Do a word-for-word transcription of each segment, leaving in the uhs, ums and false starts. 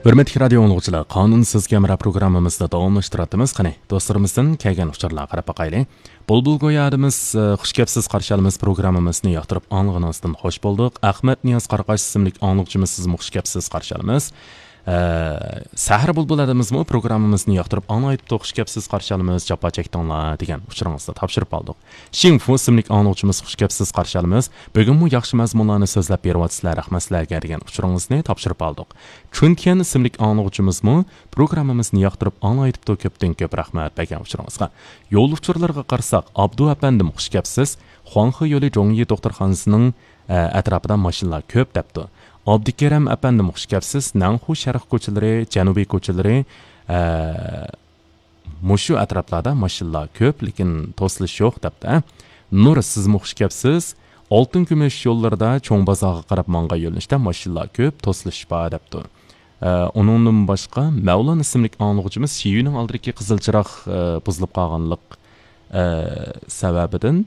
ھۆرمەتلىك رادىيو ئاڭلىغۇچىلار، قانۇنسىز كامېرا پروگراممىمىزنى داۋاملاشتۇرۇۋاتىمىز. قېنى، دوستلىرىمىزدىن كەلگەن ئۇچۇرلارغا قاراپ باقايلى. بۇلبۇل گويادىمىز، ئە، «خۇش كەپسىز، قارشى ئالىمىز» پروگراممىمىزنى ياقتۇرۇپ ئاڭلىغىنىڭىزدىن خوش بولدۇق. ئەخمەت نىياز قاراقاش ئىسىملىك ئاڭلىغۇچىمىز، سىزمۇ خۇش كەپسىز، قارشى ئالىمىز. ئە، سەھەر بۇلبۇلىمىزمۇ پروگراممىمىزنى ياقتۇرۇپ ئاڭلايتتۇق. «خۇش كەپسىز، قارشى ئالىمىز، جاپا چەكتىڭلار» دېگەن ئۇچۇرىڭىزنى تاپشۇرۇپ ئالدۇق. شىڭفۇ ئىسىملىك ئاڭلىغۇچىمىز، «خۇش كەپسىز، قارشى ئالىمىز، بۈگۈنمۇ ياخشى مەزمۇنلارنى سۆزلەپ بېرىۋاتىسىلەر، رەھمەت سىلەرگە» دېگەن ئۇچۇرىڭىزنى تاپشۇرۇپ ئالدۇق. چۈنتيەن ئىسىملىك ئاڭلىغۇچىمىزمۇ پروگراممىمىزنى ياقتۇرۇپ ئاڭلايتتۇ، كۆپتىن كۆپ رەھمەت بەرگەن ئۇچۇرىڭىزغا. يول ئۇچۇرلىرىغا قارىساق، ئابدۇ ئەپەندىم، «خۇش كەپسىز، خۇاڭخې يولى جوڭيى دوختۇرخانىسىنىڭ، ئە، ئەتراپىدا ماشىنىلار كۆپ» دەپتۇ. ئابدۇكېرەم ئەپەندىم، «خۇش كەپسىز، نەنخۇ شەرق كوچىلىرى، جەنۇبىي كوچىلىرى، ئە، مۇشۇ ئەتراپلاردا ماشىنىلار كۆپ، لېكىن توسۇلۇش يوق» دەپتۇ. نۇر، سىزمۇ خۇش كەپسىز. «ئالتۇن كۈمۈش يوللىرىدا چوڭ بازارغا قاراپ ماڭغان يۆنىلىشتە ماشىنىلار كۆپ، توسۇلۇش بار» دەپتۇ. ئە، ئۇنىڭدىن باشقا مەۋلان ئىسىملىك ئاڭلىغۇچىمىز شىيۈنىڭ ئالدىدىكى قىزىل چىراغ، ئە، بۇزۇلۇپ قالغانلىق، ئە، سەۋەبىدىن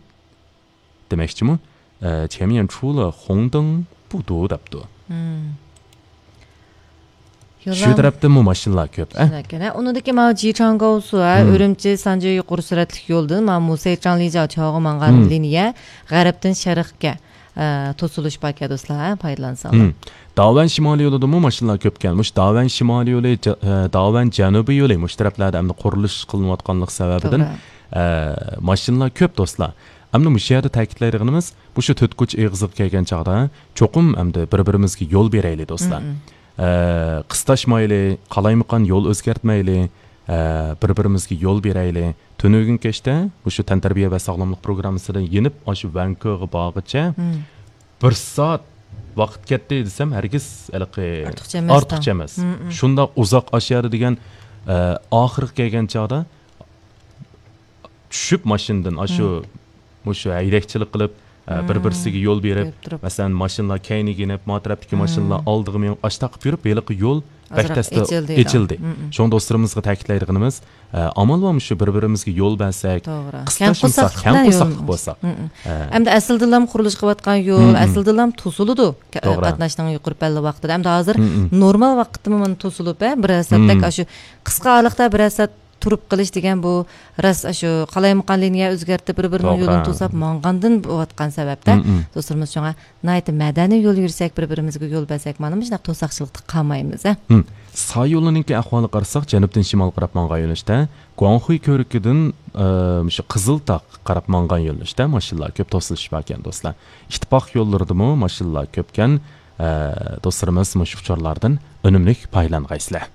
دېمەكچىمۇ، ئە، چيەنميەن چۇلې خۇڭدېڭ بۇدۇ دەپتۇ. مم. شۇ يوللار تەرەپتىنمۇ ماشىنىلار كۆپ، ئە؟ شۇنداق ئىكەن، ھە. ئۇنىڭدىكى ماۋۇ جىچاڭگاۋسۇ، ھە، مم. ئۈرۈمچى، سانجى يۇقىرى سۈرئەتلىك يولدىن ماۋۇ مۇسەيچاڭ لىجاۋ چاۋغا ماڭغان مم. لىنىيە غەربتىن شەرققە، ئە، توسۇلۇش باركەن، دوستلار، ھە، پايدىلانساڭلار. مم. داۋەن شىمالىي يولىدىمۇ ماشىنىلار كۆپكەن. مۇشۇ داۋەن شىمالىي يولى، جا-، ئە، داۋەن جەنۇبىي يولى مۇشۇ تەرەپلەردە ئەمدى قۇرۇلۇش قىلىنىۋاتقانلىق سەۋەبىدىن، توغرا. ئە، ماشىنىلار كۆپ، دوستلار. ئەمدى مۇشۇ يەردە تەكىتلەيدىغىنىمىز، مۇشۇ تۆت كوچا ئېغىزىغا كەلگەن چاغدا چوقۇم ئەمدى بىر-بىرىمىزگە يول بېرەيلى، دوستلار. مم. ئە، قىستاشمايلى، قالايمىقان يول ئۆزگەرتمەيلى، ئە، بىر-بىرىمىزگە يول بېرەيلى. تۈنۈگۈن كەچتە مۇشۇ تەنتەربىيە ۋە ساغلاملىق پروگراممىسىدىن يېنىپ، ئاشۇ ۋەنكۆغا بارغىچە مم. بىر سائەت ۋاقىت كەتتى دېسەم، ھەرگىز ھېلىقى ئارتۇقچە ئەمەس. ئارتۇقچە ئەمەس. مم، مم. شۇنداق ئۇزاق ئاشۇ يەردە دېگەن، ئە، ئاخىرقى كەلگەن چاغدا چۈشۈپ ماشىنىدىن، ئاشۇ، مم. مۇشۇ ھەيدەكچىلىك قىلىپ، ئە، بىر-، مم. بىرسىگە يول بېرىپ، بېرىپ تۇرۇپ. مەسىلەن، ماشىنىلار كەينىگە يېنىپ، ما تەرەپتىكى ماشىنىلار مم. ئالدىغا مېڭىپ، ئاشتاق يۈرۈپ، ھېلىقى يول بەك ئازراق تەستە ئېچىلدى. ئېچىلدى. مم، مم. شۇڭا دوستلىرىمىزغا تەكىتلەيدىغىنىمىز، ئە، ئامال بار مۇشۇ بىر-بىرىمىزگە يول بەرسەك، توغرا. قىستاشمىساق، كەڭ قورساقلىق بىلەن كەڭ قورساقلىق يول. بولساق. مم، مم. ئە. ئەمدى ئەسلىدىنلا قۇرۇلۇشقا قىلىۋاتقان يول، مم، مم. ئەسلىدىنلا توسۇلىدۇ. كە-، توغرا. قاتناشنىڭ يۇقىرى پەللى ۋاقتىدا. ئەمدى ھازىر مم، مم. نورمال ۋاقىتتىمۇ مانا توسۇلۇپ، ئە، بىرەر سائەتتەك مم. ئاشۇ قىسقا ئارىلىقتا بىرەر سائەت تۇرۇپ قېلىش دېگەن بۇ راست ئاشۇ قالايمىقان لىنىيە ئۆزگەرتىپ، بىر-بىرىنىڭ توغرا. يولىنى توساپ ماڭغاندىن بولۇۋاتقان سەۋەبتە، مم، مم. دوستلىرىمىز شۇڭا ناھايىتى مەدەنىي يول يۈرسەك، بىر-بىرىمىزگە يول بەرسەك، مانا مۇشۇنداق توساقچىلىقتا قالمايمىز، ھە؟ مم. سا يولىنىڭكى ئەھۋالىغا قارىساق، جەنۇبتىن شىمالغا قاراپ ماڭغان يۆنىلىشتە گۇاڭخۇي كۆۋرۈكىدىن، ئە، مۇشۇ قىزىلتاغ قاراپ ماڭغان يۆنىلىشتە ماشىنىلار كۆپ، توسۇلۇش باركەن، دوستلار. ئىتتىپاق يوللىرىدىمۇ ماشىنىلار كۆپكەن. ئە، دوستلىرىمىز مۇشۇ ئۇچۇرلاردىن ئۈنۈملۈك پايدىلانغايسىلەر.